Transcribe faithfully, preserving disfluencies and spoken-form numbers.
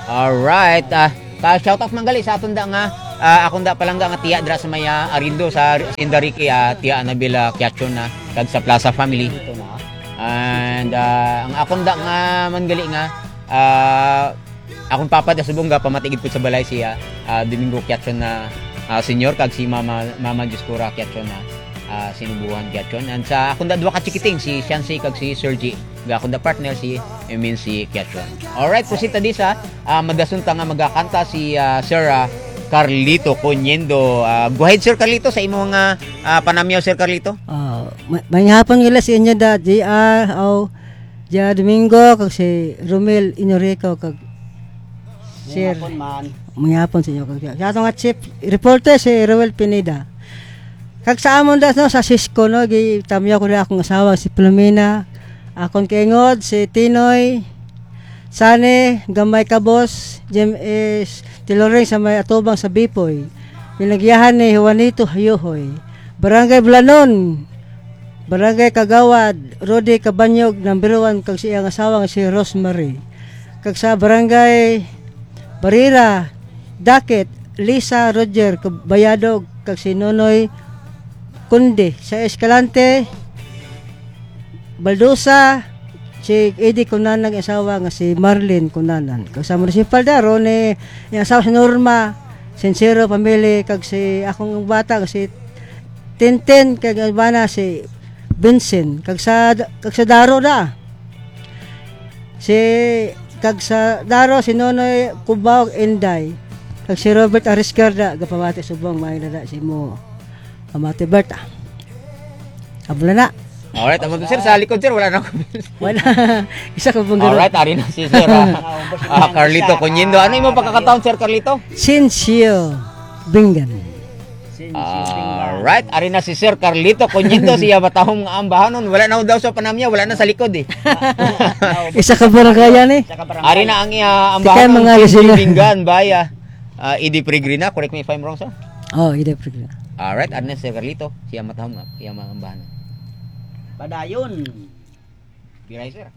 Alright. Ah, pa shoutout man gali sa aton da nga, ah, akon da palangga nga tiya dira sa may, ah, Arindo sa Indariki, ah, tiya Anabel, ah, Kiachon na kag sa Plaza family. And, ah, ang akon da nga man gali nga, ah, akong papa da subong ga pamatigid po sa balay siya, ah, Domingo Kiachon na, ah, senior kag si Mama, Mama Dioscora Kiachon na, ah, Sinubuhan Kiachon. And sa akong da duha ka chikiting, si Shansi kag si Sergi. Ga akong da partner si Emin si Kiachon. Alright, proceed ta di sa, ah, madason ta nga magakanta si, ah, Sir, ah, Carlito Coniendo. Ah, go ahead, Sir Carlito, sa imo nga, ah, panamyaw, Sir Carlito. Ah, ma-, may hapon nila sa inyo da, J R, aw, J R Domingo, kag si Romel Inorico, kag Sir. May hapon man. May hapon sa inyo, kag sa ato nga chief reporter, si Roel Pineda. Kag sa amon da, no, sa Cisco, no, gitamyaw ko na akong asawa, si Filomena, akon kaingod, si Tinoy, Sane, Gamay Kabos, Jim S. Tiloring sa may atubang sa Bipoy. Pinagyahan ni Juanito Hayohoy. Barangay Bulanon, Barangay Kagawad, Rudy Cabanyog, number one, kag sa iyang asawa nga si Rosemary. Kag sa Barangay Barira, Dakit, Lisa Roger Bayadog, kag si Nonoy Conde. Sa Escalante, Baldosa, si Eddie Cunanan, asawa nga si Marlene Cunanan. Kag sa municipal da, Ronnie, yung asawa si Norma, Sincero family, kag si akong bata nga si Tintin, kag ang bana si Vincent. Kag sa, kag sa Daro da, si, kag sa Daro, si Nonoy Cubao, Inday. Kag si Robert Ariscarda, gapamati subong, may nada si mo. Pamati, Bert, ah. Abla na. Alright, amo to, sir, sa likod, sir, wala na ako. Wala. Isa ka pang garo. Alright, ari na si sir, ah. Ah, Carlito Coniendo. Ano imo pagkakataon, Sir Carlito? Sinsyo Bingan. Alright, ari na si Sir Carlito Coniendo, siya matahom nga ambahanon. Wala na daw sa panamya, wala na sa likod eh. Isa ka barangay yan eh. Ari na ang iya Kaya ambahanon, mga Sinsyo listener. Bingan, baya. Ah, Eddie Peregrina, correct me if I'm wrong, sir. Oh, Eddie Peregrina. Alright, ari na si Sir Carlito, siya matahom nga, siya maambahanon. Padayon. Biray, sir.